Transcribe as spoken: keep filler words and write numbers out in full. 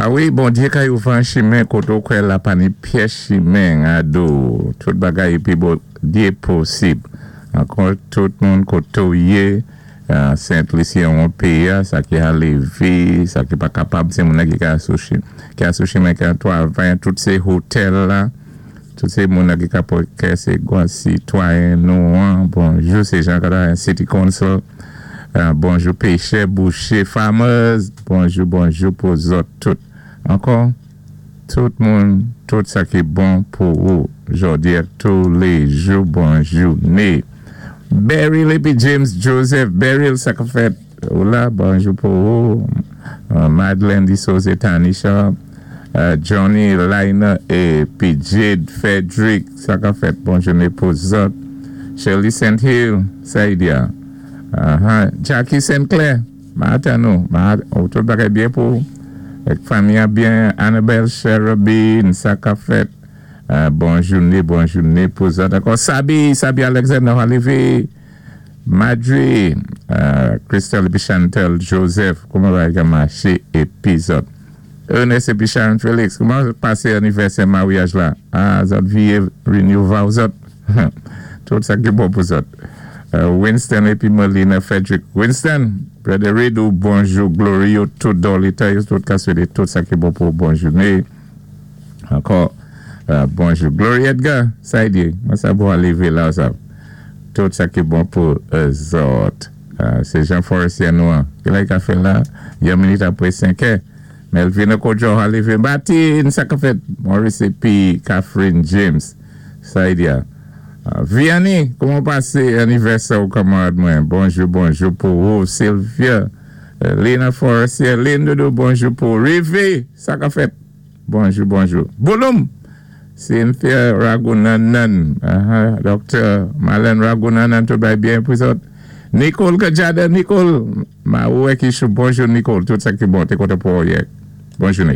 A wi, Bondyé ka ouvi chimen koté ou kwè la pa ni pyès chimen ado. Tout bagay épi Bondyé posib. Ankò tout moun koté ou yé, Sent Lisi an péyi, sa ki a lévé, sa ki pa kapab, sé moun ki ka sou ki a sou chimen ki a twavay, tout sé hotèl la, tout sé moun ki ka sé sé gwan sitwayen nou an. Bonjou, sé Jean Gadin City Council. Bonjou péchè, bouché, farmers. Bonjou, bonjou pou zòt tout. Ankò, tout moun, tout sa ki bon pou ou. Jòdi a tou lé jou, bon jouné. Beryl épi James Joseph, Beryl sa ka fèt. Hola, bonjou pou ou. Uh, Madeleine Disose Tanisha, uh, Johnny Liner épi Jade Frederick, sa ka fèt. Bon jouné pou zòt. Shirley St. Hill, Saidia. Uh-huh. Jackie St. Clair, maten nou. Oh, tout bagay byen pou ou. Fanmi byen, Annabelle Cherubin, sa ka fèt. Uh, bon jouné, bon jouné pou zòt. Ankò, Sabi, Sabi Alexander, Olivier, Madri, uh, Christelle épi Chantel Joseph, kouman bagay maché épi zòt. Ernest épi Sharon Félix, kouman pasé anivèsè maryaj la? Ah, zòt vyé renew vow zòt. Tout sa ki bon pou zòt. Uh, Winston épi Melina Frederick. Winston, Brother Redo, bonjou, Glory, tout Dolita, tout ka swété, tout sa ki bon pou bon jouné. Ankò, uh, bonjou. Glory Edgar, sa y di, mwen sa bon lévé la, sa. Tout sa ki bon pou uh, zòt. Uh, sé Jean Forestier nou an. Ki la ka fè la? Yon minit apwé senk è. Melvin Okojo, lévé Martin, sa ka fèt. Maurice épi Catherine James. Sa y di a. Uh, Vianney, kouman pasé anivèsè ou kanmarad mwen? Bonjou, bonjou pou ou. Sylvia, uh, Lena Forestier, Lynn Doudou, bonjou pou Rivé, sa ka fèt. Bonjou, bonjou. Bouloum, Cynthia Ragunanan, uh -huh. Dr. Marlene Ragunanan, tout bay byen pou zòt. Nicole Kajada, Nicole, ma ouè ki chou, bonjou Nicole, tout sa ki bon, té kontan pou ou yè. Bon jouné.